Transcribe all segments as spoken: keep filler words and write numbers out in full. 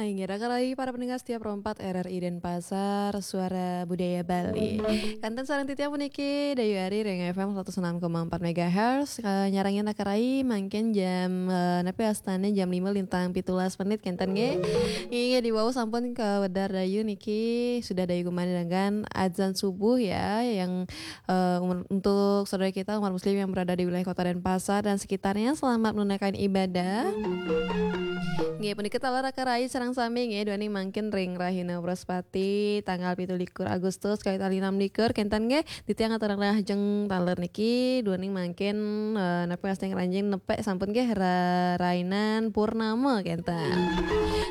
Inggih, raka rai para pendengar setia Pro empat R R I Denpasar, Suara Budaya Bali. Kanten sareng titiang puniki Dayu Ari ring F M seratus enam koma empat megahertz, eh, nyarengin raka rai mangkin jam, eh, napi wastane jam lima lintang pitulas menit kenten nggih. Inggih, diwau sampun kawedar Dayu niki sudah Dayu gumanti dengan azan subuh ya, yang eh, umur- untuk saudara kita umat muslim yang berada di wilayah Kota Denpasar dan sekitarnya, selamat menunaikan ibadah. Nggih, punika taler raka rai sareng sami nggih, duaning mangkin ring rahina Wraspati tanggal pitu likur Agustus kalih tali enam likur kenten nggih, titiang aturang rahajeng taler niki duaning mangkin, eh, napi wastane ngranjing nepek sampun nggih ra-, rainan purnama kenten.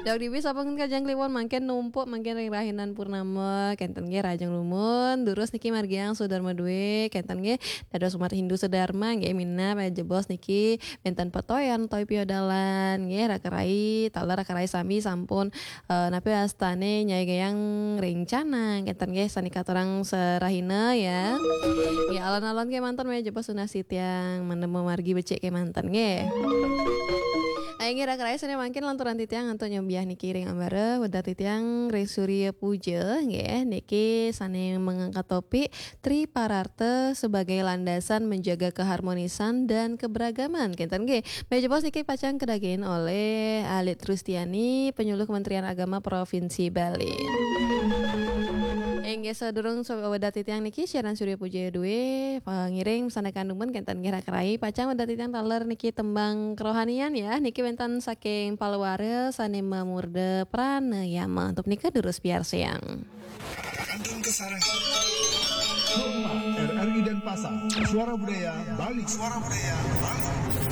Daweg dibi sampun kajeng kliwon mangkin numpuk mangkin ring rahinan purnama kenten nggih, rahajeng dumun. Durus niki margiang Sudarma Dwe kenten nggih, dados umat Hindu Sudarma nggih, minab jebos niki wenten petoyan utawi piodalan nggih, raka rai, taler raka rai sami sampun, eh, napi wastane nyaigang rencana kenten nggih, sane katurang serahina ya. Nggih, alon-alon kemanten maya jebos tunas titiang, mendem margi becik kemanten nggih. Inggih, raka rai sane mangkin lanturang titiang antuk nyobiah niki ring ambara, wedar titiang ring Surya Puja nggih, niki sane mengangkat topik Tripararta sebagai landasan menjaga keharmonisan dan keberagaman kenten nggih. Maya jebos niki pacang kadagingin oleh Alit Trustiani, penyuluh Kementerian Agama Provinsi Bali. Inggih, sadurung so-, wedar titiang niki siaran Surya Puja Dwe, eh, ngiring sandekan dumun kenten nggih raka rai, pacang wedar titiang taler niki tembang kerohanian ya, niki wenten saking Palwara sane mamurda pranayama. Untuk nika durus piarsayang. Kantun kasarengin. Pro empat R R I Denpasar, Suara Budaya Bali. Suara Budaya Bali.